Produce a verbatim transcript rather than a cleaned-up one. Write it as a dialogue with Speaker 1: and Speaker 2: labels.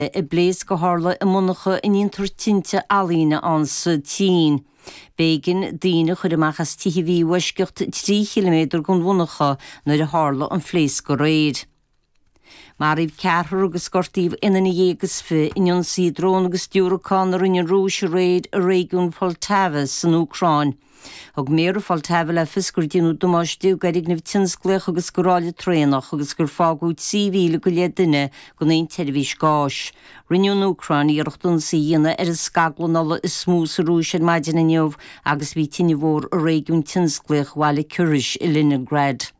Speaker 1: I bpléasc a tharla i monarcha a ndéantar tinte ealaíne ann sa tSín. B'éigean daoine a chur amach as tithe a bhí i bhfoisceacht trí chiliméadar den mhonarcha nuair a tharla an phléasc aréir. Maraíodh ceathrar agus gortaíodh aon duine dhéag is fiche in ionsaí drón agus diúracán a rinne an Rúis aréir i réigiún Poltava san Úcráin. Thug méara Pholtava le fios gur déanadh damáiste d'fhoirgneamh tionsclaíoch agus do ráille traenach agus gur fágadh trí mhíle go leith duine gan aon tseirbhís gáis. Rinne an Úcráin iarracht ionsaí a dhéanamh ar an scaglann ola is mó sa Rúis ar maidin inniu agus bhí tine mhór i réigiún tionsclaíoch bhaile Kirishi i Leningrad.